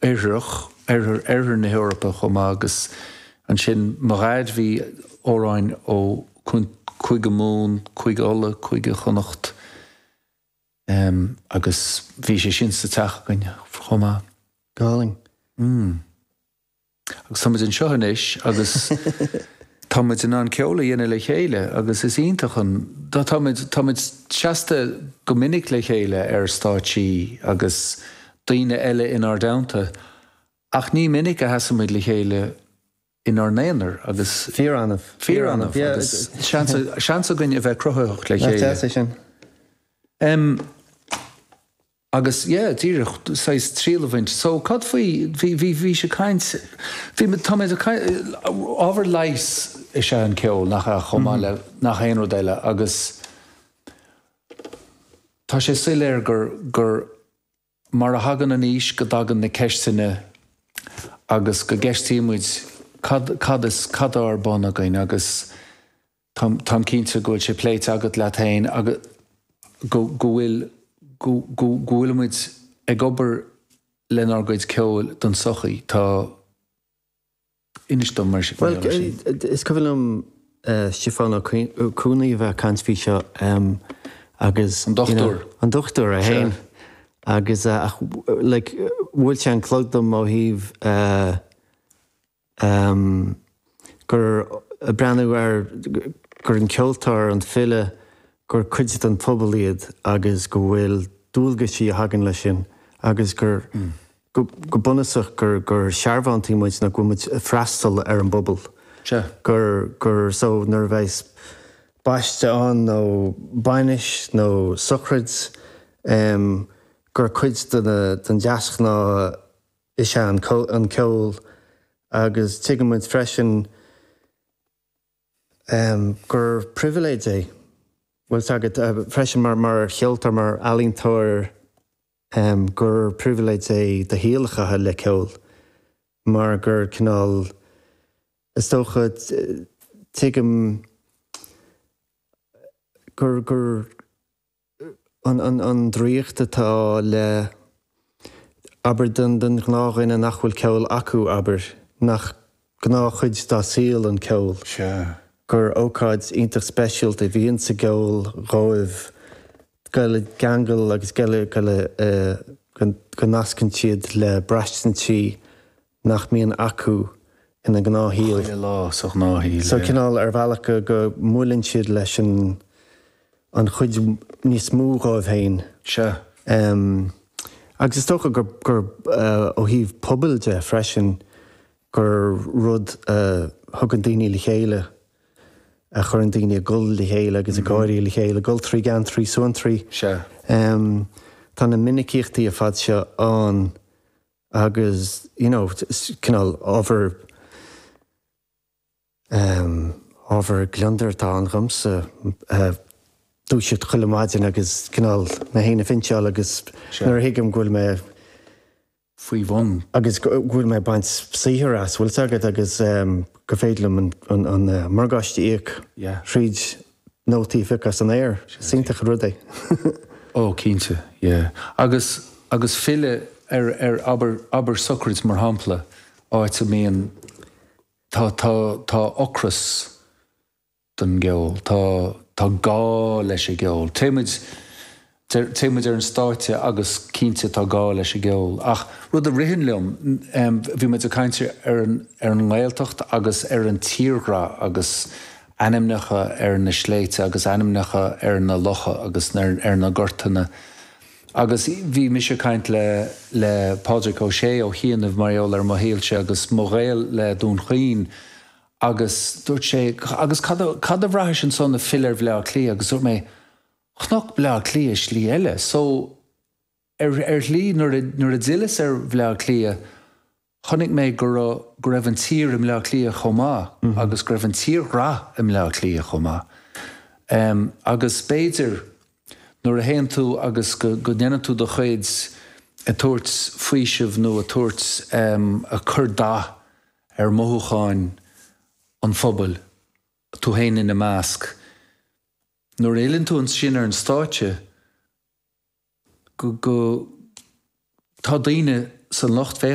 Oirthearach, Oirthear, Oirthear na hEorpa chomh maith agus ansin mo dhaid bhí amhráin ó Cúige Mumhan, Cúige Uladh, Cúige Chonnacht agus bhí sé sin sa teach againn chomh maith. Go hálainn. Mm. Agus tá muid anseo anois agus tá muid in ann ceol a dhéanamh le chéile agus is iontach an, tá muid, tá muid seasta go minic le chéile ar stáitsí agus daoine eile inár dteannta ach ní minic a sheasann muid le chéile inár n-aonar agus. Fíor-annamh. Fíor-annamh agus seans, seans againn a bheith cruthaitheach le chéile. Nach deas é sin? Em. Agus, yeah, díreach, saghas triail a bhaint. So, cad faoi, bhí, bhí, bhís ag caint, bhí, tá mé ag caint, ábhar leighis is ea an ceol, nach ea, chomh maith le nach aon rud eile agus tá sé soiléir gur, gur mar a thagann an aois go dtagann na ceisteanna agus go gceistíonn muid cad, cad is, cad atá ar bun againn agus, Táim cinnte go bhfuil sé pléite agat leat féin agus go bhfuil go go bhfuilimid ag obair lenár gcuid ceoil don tsochaí. Tá. Inis dom mar sin. Bhuel, is cuimhin liom Stiofán Ó Cuanaigh a bheith ag caint faoi seo agus. An dochtúir. An dochtúir é féin. Agus ach like bhuail sé an clog dom ó thaobh gur ag breathnú ar gur an ceoltóir, an file, gur cuid den phobal iad agus go bhfuil dualgaisí a thagann leis sin agus gur, go bunúsach, gur, gur searbhóntaí muid nó go bhfuil muid ag freastal ar an bpobal. Sea. Gur, gur, so nuair a bheas baiste ann nó bainis nó sochraid, gur cuid de na, den deasghnáth is ea an ceol agus tuigeann muid freisin gur pribhléid é, bhfuil 's agat, freisin mar cheoltóir, mar ealaíontóir, gur pribhléid é do shaol a chaitheamh le ceol mar gur cineál, is dócha, tuigim gur, gur. an draíocht atá le, abair, don ghnáthdhuine nach bhfuil ceol acu, abair, nach gnáthchuid dá saol an ceol, gur ócáid iontach speisialta a bhíonn sa gceol dhóibh dul i gceangal agus go go nascann siad le braistintí nach mbíonn acu ina ngnáthshaol. Chuile lá sa ghnáthshaol, So cineál ar bhealach go go mbuaileann siad leis an an chuid níos mó dhóibh féin. Sea. Agus is dócha gur gur ó thaobh pobail de freisin gur rud a thugann daoine le chéile, a chuireann daoine ag gol le chéile agus ag gáirí le chéile, ag gol trí gheantraí, suantraí. Sea. Tá na minicíochtaí ar fad seo ann. Agus, you know, cineál ábhar, ehm, ábhar gliondair atá ann dhomsa, dúiseacht chuile maidin agus cineál mé féin a phinseáil agus nuair a thuigim go bhfuil mé. faoi bhun. Agus go bhfuil mé ag baint saothair as, bhfuil 's agat, agus gur féidir liom an, an morgáiste a íoc thríd nótaí a phiocadh as an aer. Is iontach an rud é. Ó, cinnte, yeah. Agus, agus filleadh ar, ar, abair, abair sochraid mar shampla, áit a mbíonn, tá, tá, tá ocras don gceol, tá, tá gá leis an gceol. Téimid, téimid ar an stáitse agus cinnte tá gá leis an gceol. Ach rud a ritheann liom, bhí muid ag caint ar an, ar an nGaeltacht agus ar an tírghrá agus ainmneacha ar na sléibhte agus ainmneacha ar na locha agus ar na gortanna. Agus bhí mise ag caint le le Pádraig Ó Sé ó chianaibh mar gheall ar mo shaolse agus mo ghaol le Dún Chaoin agus dúirt sé agus cad a cad a bhraithis ansan ag filleadh ar Bhleá Cliath agus dúirt mé chonac Bleá Cliath i slí eile so ar ar shlí nuair a nuair a d'fhilleas ar Bhleá Cliath Chonaic mé go raibh go raibh an tír i mBleá Cliath chomh maith agus go raibh an tírghrá i mBleá Cliath chomh maith. Agus b'fhéidir nuair a théann tú agus go go ndéanann tú do chuid ag tabhairt faoisimh nó ag tabhairt ag cur dath ar mhothúcháin an phobail, tú féin ina measc, nuair a fhilleann tú ansin ar an stáitse, go go tá daoine san lucht féachana.